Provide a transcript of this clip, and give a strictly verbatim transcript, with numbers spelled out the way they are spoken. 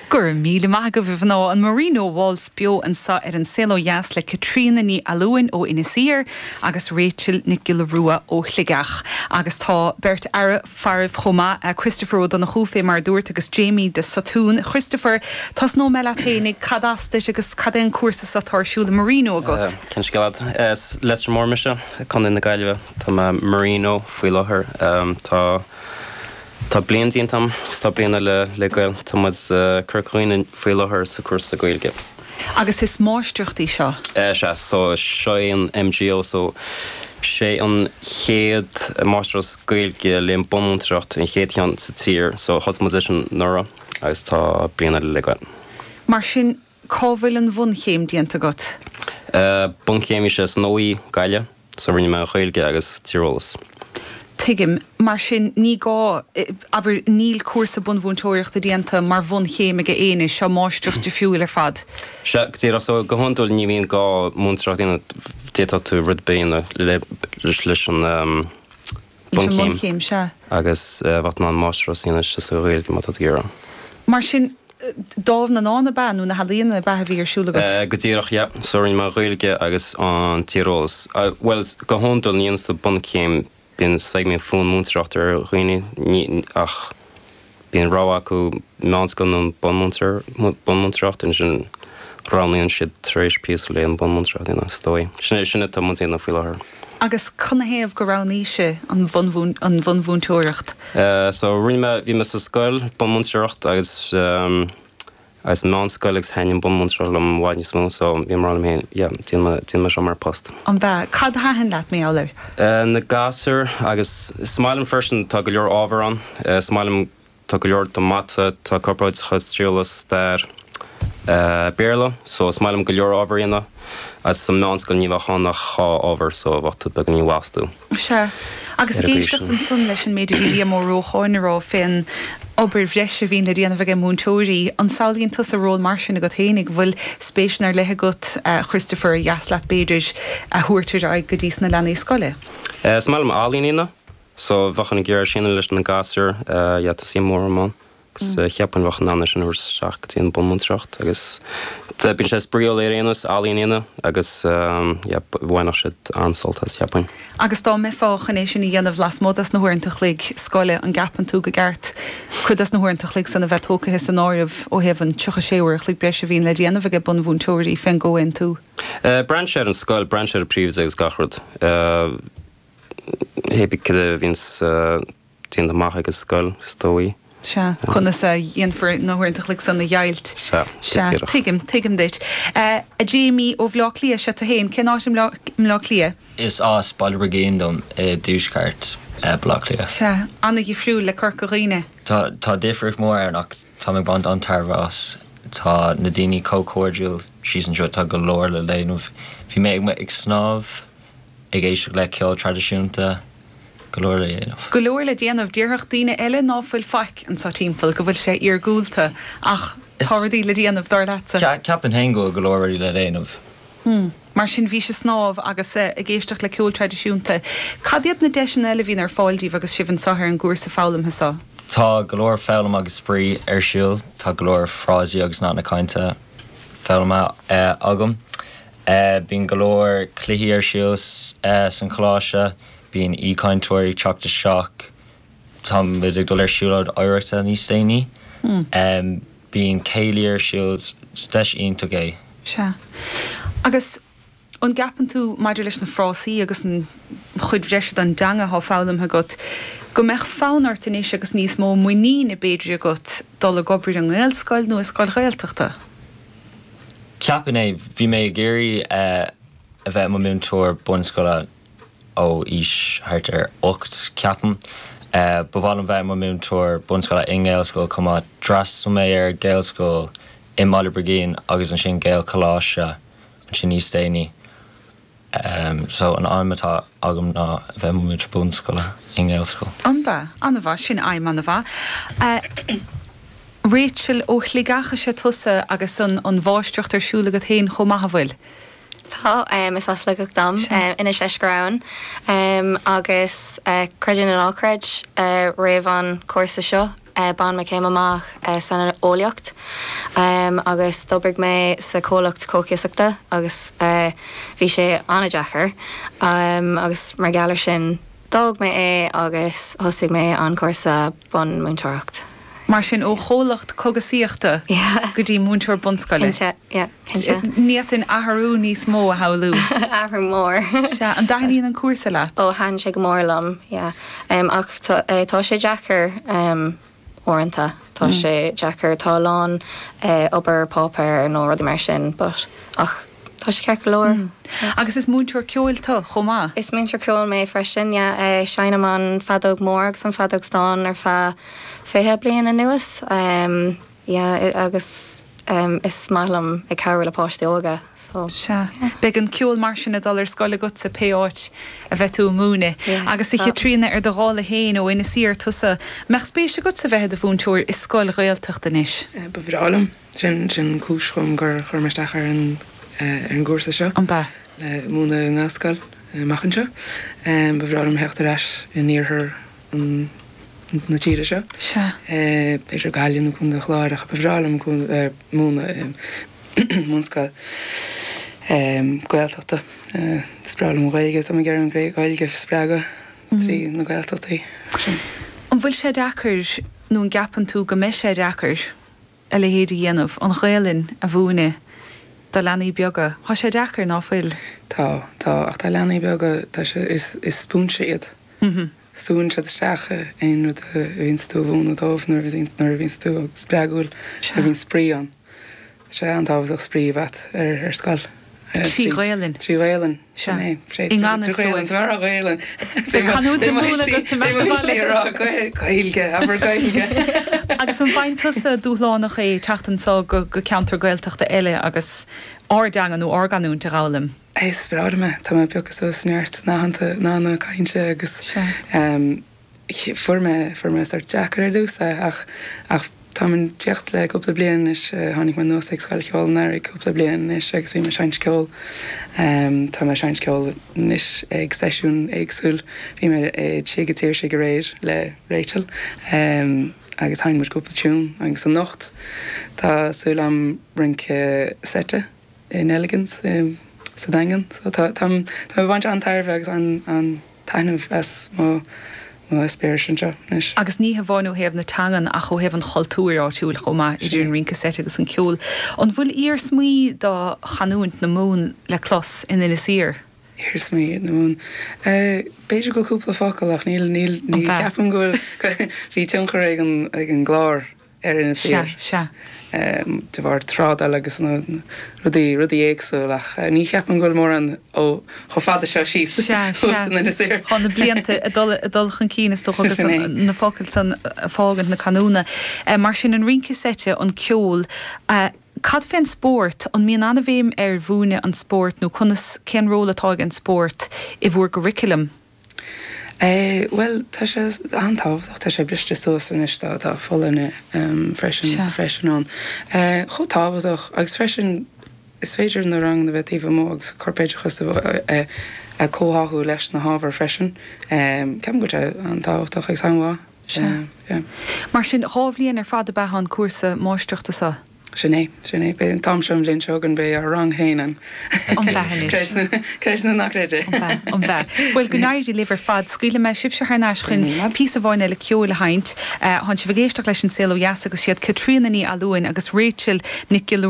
Go raibh míle maith agaibh a mhná an Marino Waltz beo anseo ar an Saol Ó Dheas le Caitríona Ní Fhallúin ó Inis Oírr agus Rachel Nic Giolla Rua ó Shligeach. Agus tá beirt fhear faraibh chomh maith uh, Christopher Ó Donnchú fé mar dúirt agus Jamie de Satún. Christopher tosnóidh mé leat fhéinig cad as duit agus cad é an cúrsa atá ar siúl Marino agat. Uh, Cén scéal? Leitir Móir mise Contae na Gaillimhe Tá mé Marino faoi láthair um, tá Tá bliain déanta agam tá bliain le le gabháil Tá muid uh, Corca Dhuibhne faoi láthair sa cúrsa Gaeilge. Agus is máistreacht í seo. Uh, sé so seo an MGO so sé an chéad máistreacht Gaeilge le bunmhúinteoireacht an chéad cheann sa tír so thosaigh muid leis anuraidh agus tá bliain le gabháil. Mar sin cá bhfuil an bhunchéim déanta agat? Uh, Bunchéim sé san OÉ Gaillimh so rinne mé Gaeilge agus tíreolas. Tuigim mar sin ní gá aber níl cúrsa bunmhúinteoireachta déanta mar bhunchéim ag éinne seo máistreacht difriúil ar fad. Se go so go hiondúil ní bhíonn gá múinteoireacht d'fhéadfadh tú rud béine le leis an um, bunchéim se. agus uh, wat ná máistreacht sin sa Ghaeilge má tá tú. Mar sin dámh na ndán ab ea nó na healaíona ab ea a bhí ar siúl agat. Go díreach ja, so rinne mé Gaeilge agus an tíreolas. Uh, well go hiondúil ní sa bunchéim bíonn segment fún múinteoireacht ar dhaoine ach bíonn rogha acu meánscoil nó bunmhúinteoireacht ansin roghnaíonn siad tar éis píosa le an bunmhúinteoireacht ina stoi. Sin sin atá muid ag déanamh faoi láthair. Agus canathaobh gur roghnaigh sibh an an bhunmhúinteoireacht. Uh, so rinne mé bhí mé sa scoil bunmhúinteoireacht agus um, agus meánscoil agus thaitin bunmhúinteoireacht liom i bhfad níos mó, so bhí mé féin déan me seo mar post. An bea cad thaitin leat mé áir? Uh, na gasúir agus is maith liom freisin tá go leor ábhar ann, uh, is maith liom tá go leor do mata tá corporáideachas tíreolas stair uh, Béarla, so is maith liom go leor ábhar ina agus sa meánscoil ní bheadh ann ach dhá ábhar so bheadh tú beagáinín wastú. Se agus Ar an gcaoi éisteacht sin. ansan leis an méid a bhí Liam Ó Rócháin rá fén obair bhreise a bhíonn le déanamh ag múinteoirí an samhlaíonn tusa ról mar sin agat féinig bhfuil spéis ar leith agat uh, Christopher dheas leat b'fhéidir a thabhairt ar aghaidh go dtí na leanaí scoile. Uh, is maith liom ealaín ina, so bheadh an géar sin leis na gasúir uh, ja, tá sí mór amán. Agus mm. cheapaim bheadh an sin seach go dtí an bunmhúinteoireacht agus bíonn sé spraíúil ar aon nós ealaín ina agus um, ja, bhainfeadh siad an-sult as cheapaim. Agus dá mbeifeá chun é sin a dhéanamh lasmuigh des na huaireanta an chloig scoile an gceapann tú go gceart cuid des na huaireanta an chloig san a bheith tógtha san áireamh ó thaobh an tríocha sé uair an chloig breise a bhíonn le déanamh ag bunmhúinteoirí fén gcomhaontú. Uh, Braitheann sé ar an scoil braitheann sé ar príomhoide agus gach rud. Uh, Hé cad a bhíonn uh, déanta amach ag an scoil is dóigh. Se conas a dhéanfar na huaireanta an chloig san a dheighilt. Se, Se, tuigim, tuigim duit. Uh, a Jamie ó Bhleá Cliath sé tú féin, cén áit i mBleá Cliath? Is as Baile Brigín dom i dtuaisceart uh, Bleá Cliath. Se, an-difriúil le Corca Dhuibhne. Tá tá difríocht mór ann ach tá ag baint an-tairbhe as tá na daoine chomh cairdiúil síos anseo tá go leor le déanamh. Bhí mé ag ag snámh ag éisteacht le ceol traidisiúnta go leor le déanamh. Go leor le déanamh déarfadh daoine eile ná fuil faic anseo timpeall go bhfuil sé iargúlta ach tá rudaí le déanamh dar leatsa. Ceapaim féin go go leor rudaí le déanamh. Hmm. Mar sin bhí sé snámh agus eh, ag éisteacht le ceol traidisiúnta. Cad iad na deiseanna eile a bhíonn ar fáil daoibh agus sibh anseo ar an gcúrsa foghlamtha seo. Tá go leor foghlaim agus spraoi ar siúl, tá go leor frásaí agus nathanna cainte foghlamtha uh, agam. Uh, bíonn go leor cluichí ar siúl uh, san choláiste, bíonn aoichainteoirí ag teacht isteach Tá muid ag dul ar siúlóid oidhreachta níos déanaí. Hmm. Um, bíonn céilí ar siúl deis iontach é. Se. Agus an gceapann tú maidir leis na frásaí agus an chuid bhreise den dteanga atá foghlamtha agat, go mbeadh fonn ort anois agus níos mó muiníne b'fhéidir agat dul ag obair i nGaelscoil nó i scoil Ghaeltachta. Ceapaim é bhí mé ag iarraidh uh, a bheith mo múinteoir bunscoile ó aois thart ar ocht ceapaim. Uh, ba mhaith liom bheith mo múinteoir bunscoile i nGaelscoil chomh maith d'fhreastail mé ar Gaelscoil i mBaile Brigín agus ansin Gaelcholáiste ansin níos déanaí. Um, so an aidhm atá agam ná a bheith mo múinteoir bunscoile i nGaelscoil. An-mhaith, an-mhaith sin aidhm an-mhaith. Uh, Rachel ó Shligeach is ea tusa agus an an mháistreacht ar siúl agat féin chomh maith an bhfuil. Tá um, is as Sligeach dom um, Inis Eiscir um, agus uh, creid é nó ná creid uh, roimh an cúrsa seo. bhain mé céim amach san eolaíocht agus d'oibrigh mé sa chomhlacht cógaisíochta agus bhí sé an-deacair agus mar gheall air sin d'fhág mé é agus thosaigh mé an cúrsa bunmhúinteoireacht. Mar sin ó chomhlacht cógaisíochta go dtí múinteoir bunscoile. Ní an athrú níos mó a shamhlú. Athrú mór. Sea, an dtaitníonn an cúrsa leat? Ó thaitin sé go mór liom, ach tá sé deacair uaireanta, tá sé deacair tá a lán obair páipéir nó rudaí mar sin, but ach tá sé ceart go leor. Agus is múinteoir ceoil tú chomh maith? Is múinteoir ceoil mé freisin, yeah, seinnim an feadóg mór agus an feadóg stáin ar feadh fiche bliain anuas um, yeah, agus um, is maith liom ag cabhrú le páistí óga. So, Sea. Beidh an ceol mar sin ag dul ar scoil agatsa pé áit a bheidh tú ag múineadh. Agus a Chaitríona ar do dhála féin ó Inis Oírr tusa, mbeadh spéis agatsa bheith i do mhúinteoir i scoil Ghaeltachta anois? Ba bhreá liom. Sin sin cúis dhom gur chuir mé isteach ar an ar an gcúrsa seo. An bea? Le múineadh i nGaelscoil amach anseo. Ba bhreá liom theacht ar ais in iarthar an na tíre seo. Sea. B'fhéidir Gaillimh nó Contae an Chláir ach ba bhreá liom múineadh i mbunscoil Gaeltachta. Is breá liom an Ghaeilge, tá mé ag iarraidh an Ghaeilge a spreagadh trí na Gaeltachtaí. Sin. An bhfuil sé deacair nó an gceapann tú go mbeidh sé deacair a leithéid a dhéanamh, an Ghaelainn a mhúineadh do leanaí beaga? Tá sé deacair, ná fuil? Tá, tá, ach tá leanaí beaga, tá sé, is, is spúinse iad. Súnn siad isteach aon rud a bhíonns tú a mhúineadh dóibh nuair a bhíonns, nuair a bhíonns tú spreagúil, nuair a bhíonn spraoi ann. Tá sé an-tábhachtach spraoi a bheith ar, ar scoil. Trí Ghaelainn. Trí Ghaelainn, sin é. I ngan fhios dóibh. Trí Ghaelainn, tá Ghaelainn. Beidh canúint na Mumhan agat sa mbealach Beidh mo rá Gaeilge, abair Gaeilge. Agus an bhfaigheann tusa dúshlánach é teacht anseo go go ceantar Gaeltachta eile agus ár dteanga nó ár gcanúint a dh'fhoghlaim? Is breá liom é. Tá mé ag piocadh suas neart nathanna nathanna cainte agus fuair mé fuair mé sórt deacair ar dtús é ach ach Táim ag tíocht le cúpla bliain anois, tháinig mé anuas ag Scoil Cheoil an Earraigh cúpla bliain anois agus bhí mé ag seinnt ceoil. Tá mé ag seinnt ceoil anois ag seisiún éagsúil. Bhí mé i Tigh an tSaoirsigh aréir le Rachel agus sheinn muid cúpla tiún agus anocht tá súil agam rince seite i Nelligan's sa Daingean. So tá táim ag baint an-tairbhe agus an taitneamh as mo mo eispéireas anseo anois. Agus ní hamháin ó thaobh na teangan ach ó thaobh an chultúir áitiúil chomh maith, idir an rince seite agus an ceol. An bhfuil iarsmaí de chanúint na Mumhan le clos in Inis Oírr? Iarsmaí na Mumhan? B'fhéidir go bhfuil cúpla focal ach níl, níl, ní cheapaim go bhfuil, bhí tionchar ag an, ag an gclár ar Inis Oírr. Sea, sea. De bharr trádáil agus na rudaí, rudaí éagsúil ach ní cheapaim go bhfuil mórán ó chomh fada seo síos Sea, thuas sea. in Inis Oírr. Tá na blianta ag dul, ag dul chun cinn is dócha agus Sin é. na focail san ag fágaint na canúna. Mar sin an rince seite, an ceol, cad fén spórt, an mbíonn an-bhéim ar mhúineadh an spóirt nó conas, cén ról atá ag an spórt i bhur gcurriculum? Eh, bhuel, tá sé an-tábhachtach, tá sé briste suas anois, tá tá folláine freisin Sea. freisin ann. Eh, chomh tábhachtach agus freisin is féidir na ranganna a bheith taobh amuigh agus corpoideachas a a comhtháthú leis na hábhair freisin. Ceapaim go bhfuil sé an-tábhachtach agus an-mhaith. Sea. Yeah. Mar sin, dhá bhliain ar fad ab ea an cúrsa máistreachta seo? Sin é, sin é. Beidh an t-am seo an bhliain seo chugainn, beidh ár rang féin ann. An b'ea anois? Creid nó, creid nó ná creid é. An b'ea, an b'ea. Bhuel, go n-éirí libh ar fad. Scaoilfidh mé sibhse thar n-ais chun píosa amháin eile ceoil a sheinnt. Tánn sibh ag éisteacht leis An Saol Ó Dheas agus siad Caitríona Ní Fhallúin agus Rachel Nic Giolla